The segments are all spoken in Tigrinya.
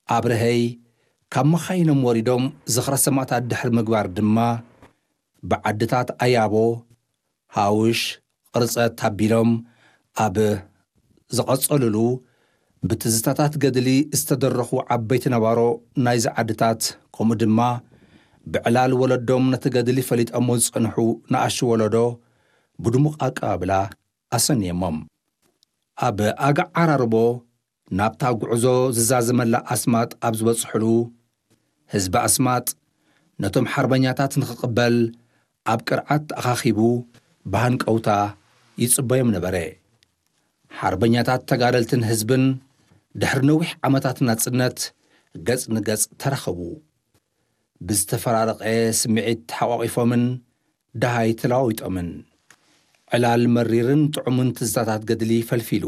ኣብርሀይ ካብ መኻይኖም ወሪዶም ዝኽረ ሰማእታት ድሕሪ ምግባር ድማ፣ ብዓድታት ኣያቦ፣ ሃውሽ፣ ቕርጸት ኣቢሎም ኣብ ዝቐጸሉሉ፣ ብትዝታታት ገድሊ ዝተደረኹ ዓበይቲ ነባሮ ናይዚ ዓድታት፣ ከምኡ ድማ ብዕላል ወለዶም ነቲ ገድሊ ፈሊጦሞ ዝጸንሑ ንኣሽቱ ወለዶ ብድሙቕ ኣቀባብላ ኣሰንየሞም። ኣብ ኣጋዓራርቦ ናብታ ጉዕዞ ዝዛዘመላ ኣስማጥ ኣብ ዝበጽሕሉ፣ ህዝቢ ኣስማጥ ነቶም ሓርበኛታት ንኽቕበል ኣብ ቅርዓት ተኣኻኺቡ ብሃንቀውታ ይጽበዮም ነበረ። ሓርበኛታት ተጋደልትን ህዝብን ድሕሪ ነዊሕ ዓመታት ናጽነት ገጽ ንገጽ ተራኸቡ። ብዝተፈራረቐ ስምዒት ተሓቋቒፎምን ደሃይ ተለዋዊጦምን፣ ዕላል መሪርን ጥዑምን ትዝታታት ገድሊ ፈልፊሉ።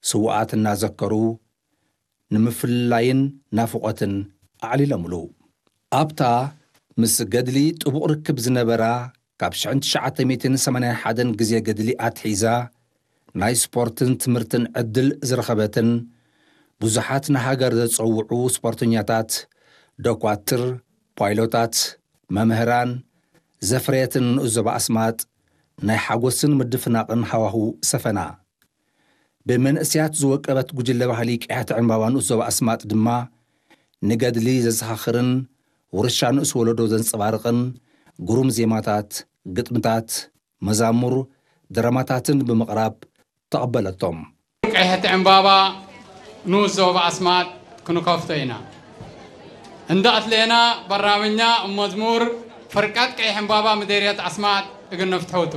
ስውኣት እናዘከሩ ንምፍልላይን ናፍቖትን ኣዕሊሎምሉ። ኣብታ ምስ ገድሊ ጥቡቕ ርክብ ዝነበራ፣ ካብ ሽሕን ትሽዓተ ሚእትን ሰማንያን ሓደን ግዜ ገድሊ ኣትሒዛ ናይ ስፖርትን ትምህርትን ዕድል ዝረኸበትን፣ ብዙሓት ንሃገር ዘጸውዑ ስፖርተኛታት፣ ዶኳትር፣ ፓይሎታት፣ መምህራን ዘፍረየትን ንኡስ ዞባ ኣስማጥ፣ ናይ ሓጎስን ምድፍናቕን ሃዋሁ ሰፈና። ብመንእሰያት ዝወቀበት ጉጅለ ባህሊ ቀያሕቲ ዕምባባ ንኡስ ዞባ ኣስማጥ ድማ፣ ንገድሊ ዘዘኻኽርን ውርሻ ንኡስ ወለዶ ዘንጸባርቕን ግሩም ዜማታት፣ ግጥምታት፣ መዛሙር፣ ድራማታትን ብምቕራብ ተቐበለቶም። ቀያሕቲ ዕምባባ ንኡስ ዞባ ኣስማጥ ክንከፍቶ ኢና። እንዳ ኣትሌና በራምኛ መዝሙር ፍርቃት ቀይሕ ዕምባባ ምዴርየት ኣስማጥ እግን ነፍትሖቱ።